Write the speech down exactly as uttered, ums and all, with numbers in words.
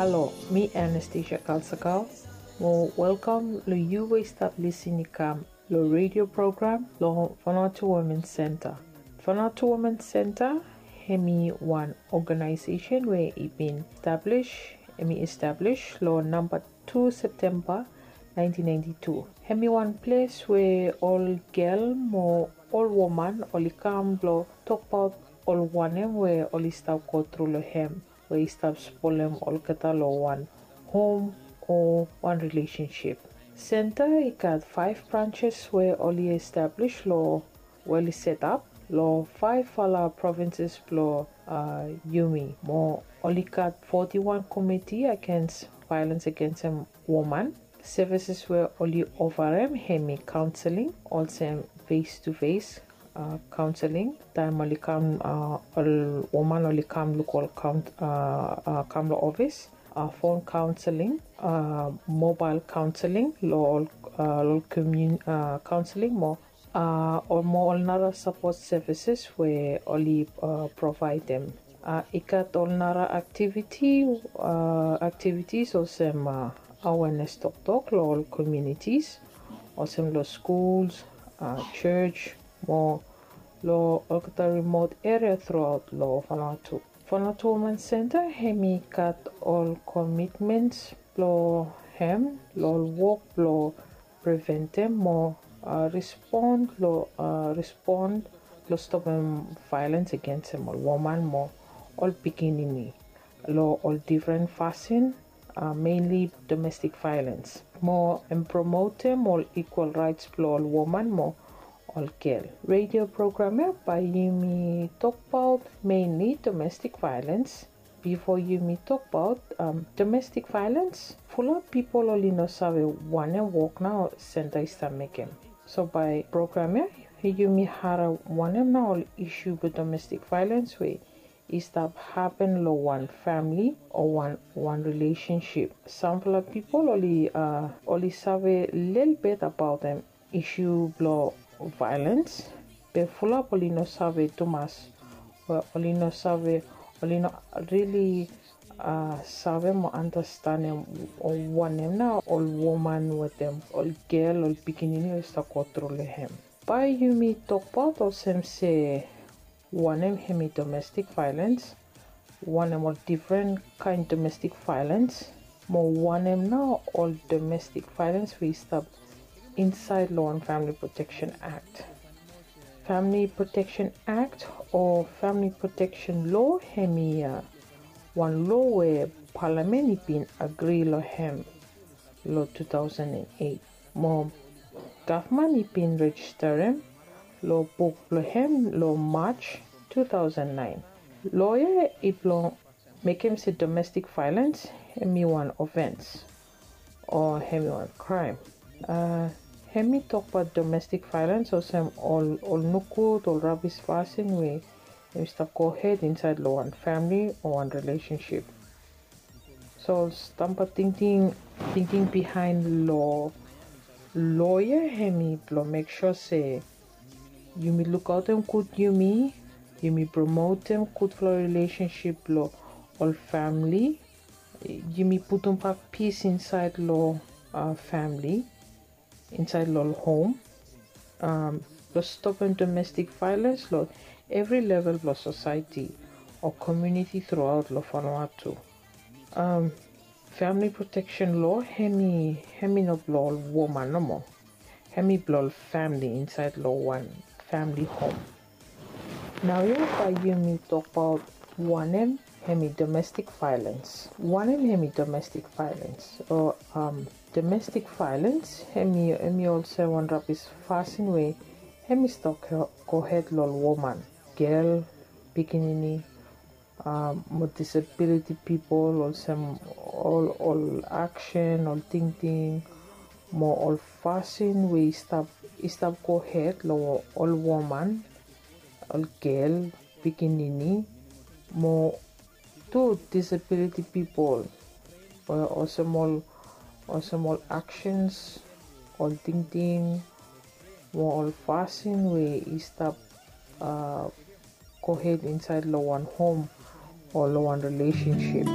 Halo, mi Anastasia Kalsakal. Mo welkam lo yu we i stap lisin i kam lo redio program lo Vanuatu Women Center. Vanuatu Women Center hemi wan oganaesesen we i bin establis, hemi establis lo namba tu Septemba nineteen ninety-two. Hemi wan ples we ol gel mo ol woman oli kam blo tokbaot ol wanem we oli stap go tru lo hem, we i stap spolem olgeta lo wan hom o wan rilesensip. Senta i gat faef branses we oli establis lo, we oli setap lo faefala provinses blo, uh, yumi. Mo oli gat foti wan komiti agens vaelens agensem woman. Sevises we oli ofarem hemi kaonseling, olsem fes tu fes, uh, kaonseling taem oli kam, uh, ol woman oli kam luk ol kaon-, uh, uh, kam lo ofis, uh, fon kaonseling, uh, mobael kaonseling lo ol, uh, lo ol komun-, uh, kaonseling mo, uh, ol mo ol nara sapot sevises we oli, uh, provaedem. Uh, i gat ol nara aktiviti, uh, aktivitis olsem, uh, awenes toktok lo ol komunitis, olsem lo skuls, uh, jos, mo lo olgeta rimot eria truaot lo Vanuatu. Vanuatu Women Center hemi gat ol komitmens blo hem lo ol wok blo preventem mo, uh, respon lo, uh, respon lo stopem vaelens agensem ol woman mo ol pikinini lo ol difren fasin, uh, mainly domestic violence, mo hem promotem ol equal raets blo ol woman mo ol gel. Redio program ya bae yumi tokbaot mainly domestic violence. Bifo yumi tokbaot, um, domestic violence, fulap pipol oli no save wanem wok nao senta i stap mekem. So bae program ya yumi harem wanem nao ol isu blo domestic violence we i stap hapen lo wan famili o wan, wan rilesensip. Samfala pipol oli, uh, oli save lelebet abaotem isu blo vaelens, be fulap oli no save tumas, we oli no save, oli no rili, uh, save mo anastenem wanem nao ol woman wetem ol gel, ol pikinini oli stap go tru lo hem. Bae yumi tokbaot olsem se wanem hemi domestic violence, wanem ol difren kaen domestic violence, mo wanem nao ol domestic violence we i stap insaed lo wan Family Protection Act. Family Protection Act o Family Protection Law hemi, uh, wan loa we palamen i bin agri lo hem lo two thousand and eight. Mo gavman i bin rejisterem lo buk blo hem lo Maj two thousand nine. Loa ya i blo mekem se domestic violence hemi wan ofens o hemi wan kraem. Uh, hemi tokbaot domestic violence olsem ol, ol nogud, ol rabis fasin we hemi stap gohed insaed lo wan famili o wan rilesensip. So stamba tingting, tingting bihaen lo loa ya hemi blo mek sua se yumi lukaotem gud yumi, yumi promotem gudfala rilesensip lo ol famili, yumi putumbak pis insaed lo, uh, famili, insaed lo ol hom, um, blo stopem domestic violence lo evri level blo sosaeti o komuniti truaot lo Vanuatu. Um, Family Protection Law hemi, hemi no blo ol woman nomo. Hemi blo ol famili insaed lo wan famili hom. Naoia bae yumi tokbaot wanem hemi domestic violence. Wanem hemi domestic violence? O, um, domestic violence hemi, hemi olsem wan rabis fasin we hemi stap go, gohed lo ol woman, gel, pikinini, um, mo disability pipol, olsem ol, ol aksen, ol tingting mo ol fasin we i stap, i stap gohed lo ol woman, ol gel, pikinini mo tu disability pipol, o, olsem ol, olsem ol aksens, ol tingting mo ol fasin we i stap, uh, gohed insaed lo wan hom o lo wan rilesensip.